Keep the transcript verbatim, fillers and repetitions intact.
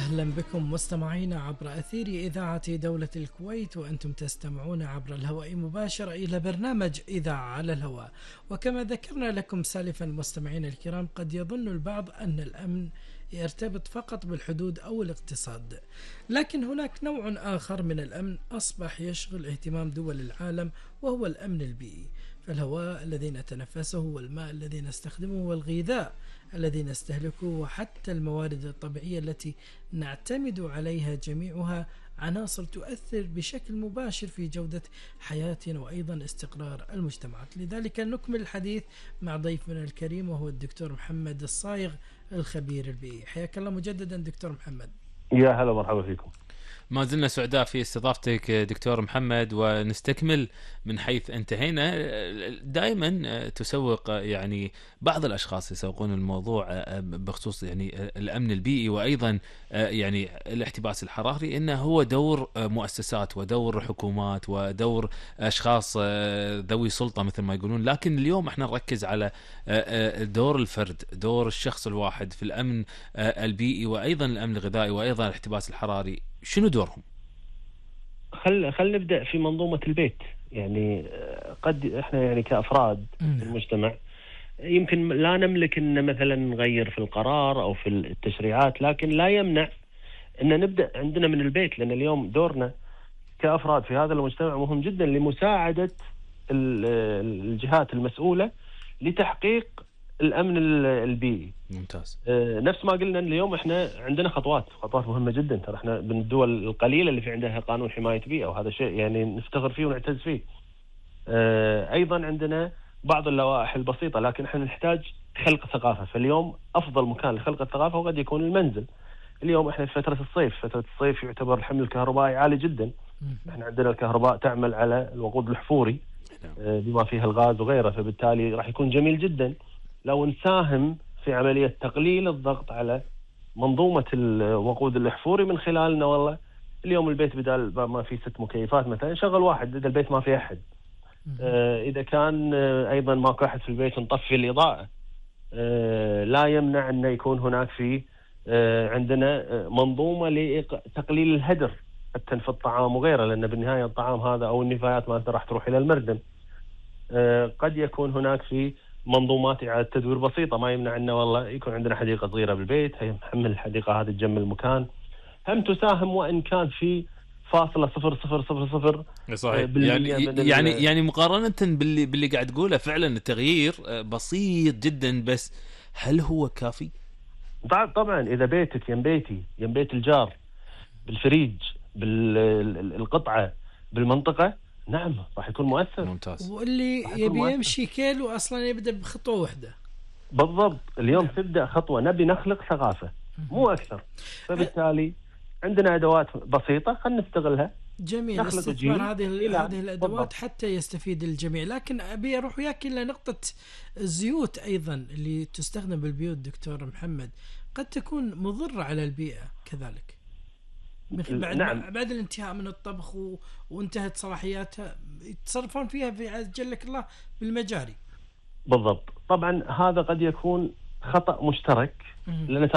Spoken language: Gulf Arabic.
أهلا بكم مستمعينا عبر أثير إذاعة دولة الكويت، وأنتم تستمعون عبر الهواء مباشرة إلى برنامج إذاعة على الهواء. وكما ذكرنا لكم سالفا مستمعينا الكرام، قد يظن البعض أن الأمن يرتبط فقط بالحدود أو الاقتصاد، لكن هناك نوع آخر من الأمن أصبح يشغل اهتمام دول العالم، وهو الأمن البيئي. فالهواء الذي نتنفسه، والماء الذي نستخدمه، والغذاء الذي نستهلكه، وحتى الموارد الطبيعية التي نعتمد عليها، جميعها عناصر تؤثر بشكل مباشر في جودة حياتنا وأيضا استقرار المجتمعات. لذلك نكمل الحديث مع ضيفنا الكريم، وهو الدكتور محمد الصايغ الخبير البيئي. حياك الله مجددا دكتور محمد. يا هلا مرحبا فيكم. ما زلنا سعداء في استضافتك دكتور محمد، ونستكمل من حيث انتهينا. دائما تسوق يعني بعض الاشخاص يسوقون الموضوع بخصوص يعني الامن البيئي، وايضا يعني الاحتباس الحراري، انه هو دور مؤسسات ودور حكومات ودور اشخاص ذوي سلطه مثل ما يقولون. لكن اليوم احنا نركز على دور الفرد، دور الشخص الواحد في الامن البيئي، وايضا الامن الغذائي، وايضا الاحتباس الحراري. شنو دورهم؟ خل خل نبدأ في منظومة البيت. يعني قد احنا يعني كأفراد في المجتمع يمكن لا نملك ان مثلا نغير في القرار او في التشريعات، لكن لا يمنع ان نبدأ عندنا من البيت، لان اليوم دورنا كأفراد في هذا المجتمع مهم جدا لمساعدة الجهات المسؤولة لتحقيق الأمن البيئي. ممتاز. آه نفس ما قلنا اليوم احنا عندنا خطوات خطوات مهمة جدا، ترى احنا من الدول القليلة اللي في عندها قانون حماية بيئة، وهذا شيء يعني نفتخر فيه ونعتز فيه. آه ايضا عندنا بعض اللوائح البسيطة، لكن احنا نحتاج خلق ثقافة. فاليوم افضل مكان لخلق الثقافة هو قد يكون المنزل. اليوم احنا في فترة الصيف، فترة الصيف يعتبر الحمل الكهربائي عالي جدا. احنا عندنا الكهرباء تعمل على الوقود الحفوري آه بما فيها الغاز وغيره، فبالتالي راح يكون جميل جدا لو نساهم في عملية تقليل الضغط على منظومة الوقود الأحفوري من خلالنا. والله اليوم البيت بدال ما في ست مكيفات مثلا شغل واحد إذا البيت ما في أحد. آه إذا كان آه أيضا ماكو أحد في البيت نطفي الإضاءة. آه لا يمنع أن يكون هناك في آه عندنا منظومة لتقليل الهدر حتى في الطعام وغيره، لأن بالنهاية الطعام هذا أو النفايات ما راح تروح إلى المردم. آه قد يكون هناك في منظومات إعادة تدوير بسيطة، ما يمنع أنه والله يكون عندنا حديقة صغيرة بالبيت، هي محمل الحديقة هذه تجمل المكان، هم تساهم وإن كان في فاصلة صفر صفر صفر صفر. صحيح. يعني يعني يعني مقارنة باللي باللي قاعد تقوله فعلا التغيير بسيط جدا، بس هل هو كافي؟ طبعا إذا بيتك يم بيتي يم بيت الجار بالفريج بالقطعة بالمنطقة، نعم راح يكون مؤثر. ممتاز. واللي يبي يمشي كيلو أصلا يبدأ بخطوة واحدة. بالضبط. اليوم نعم. تبدأ خطوة، نبي نخلق ثقافة مو أكثر، فبالتالي عندنا أدوات بسيطة خلينا نستغلها. جميل استثمار هذه هذه الأدوات بالضبط. حتى يستفيد الجميع. لكن أبي أروح وياك إلى نقطة الزيوت أيضا اللي تستخدم بالبيوت دكتور محمد، قد تكون مضرة على البيئة كذلك بعد نعم. بعد الانتهاء من الطبخ و... وانتهت صلاحياتها يتصرفون فيها في جلك الله بالمجاري. بالضبط. طبعا هذا قد يكون خطأ مشترك، لأن